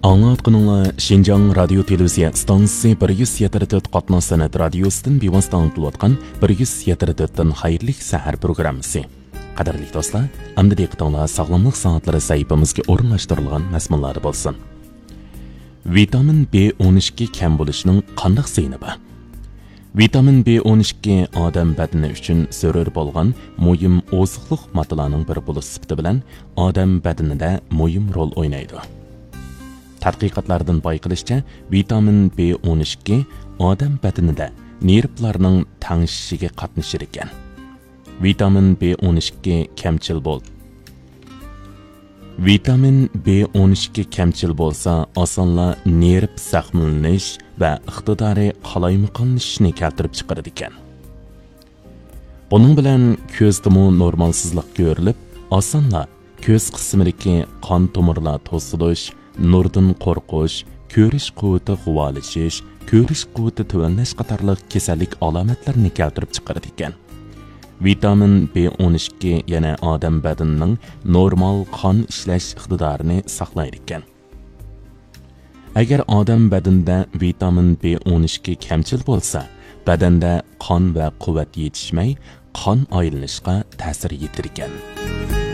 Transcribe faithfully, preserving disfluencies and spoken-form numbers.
ئاڭلاۋاتقىنىڭلار شىنجاڭ رادىيو تېلېۋىزىيە ئىستانسىسى بىر يۈز يەتتە تۆت قاتناش سەنئەت رادىيوسىدىن بىۋاسىتە ئاڭلىتىلىۋاتقان بىر يۈز يەتتە تۆتتىن خەيرلىك سەھەر پروگراممىسى. قەدىرلىك دوستلار، ئەمدى دىققىتىڭلار ساغلاملىق سائەتلىرى سەھىپىمىزگە ئورۇنلاشتۇرۇلغان مەزمۇنلاردا بولسۇن. ۋىتامىن بى ئون ئىككى كەم بولۇشنىڭ قانداق زىيىنى بار؟ ۋىتامىن بى ئون ئىككى ئادەم بەدىنى ئۈچۈن زۆرۈر بولغان مۇھىم ئوزۇقلۇق ماددىلارنىڭ بىرى بولۇش سۈپىتى بىلەن ئادەم بەدىنىدە مۇھىم رول ئوينايدۇ. تەتقىقاتلاردىن بايقىلىشىچە، ۋىتامىن بى ئون ئىككى ئادەم بەدىنىدە نېرۋىلارنىڭ تەڭشىشىگە قاتنىشىدىكەن. ۋىتامىن بى ئون ئىككى كەمچىل بول. ۋىتامىن بى ئون ئىككى كەمچىل بولسا، ئاسانلا نېرۋا زەخىملىنىش ۋە ئىقتىدارى قالايمىقانلىشىشنى كەلتۈرۈپ چىقىرىدىكەن. بۇنىڭ بىلەن كۆزدىمۇ نورمالسىزلىق كۆرۈلۈپ، ئاسانلا كۆز قىسمىدىكى قان تومۇرلار توسۇلۇش، نۇردىن قورقۇش، كۆرۈش قۇۋۋىتى غۇۋالىشىش، كۆرۈش قۇۋۋىتى تۆۋەنلەش قاتارلىق كېسەللىك ئالامەتلىرىنى كەلتۈرۈپ چىقىرىدىكەن. ۋىتامىن بى ئون ئىككى يەنە ئادەم بەدىنىنىڭ نورمال قان ئىشلەش ئىقتىدارىنى ساقلايدىكەن. ئەگەر ئادەم بەدىنىدە ۋىتامىن بى ئون ئىككى كەمچىل بولسا، بەدەندە قان ۋە قۇۋۋەت يېتىشمەي، قان ئايلىنىشقا تەسىر يېتىدىكەن.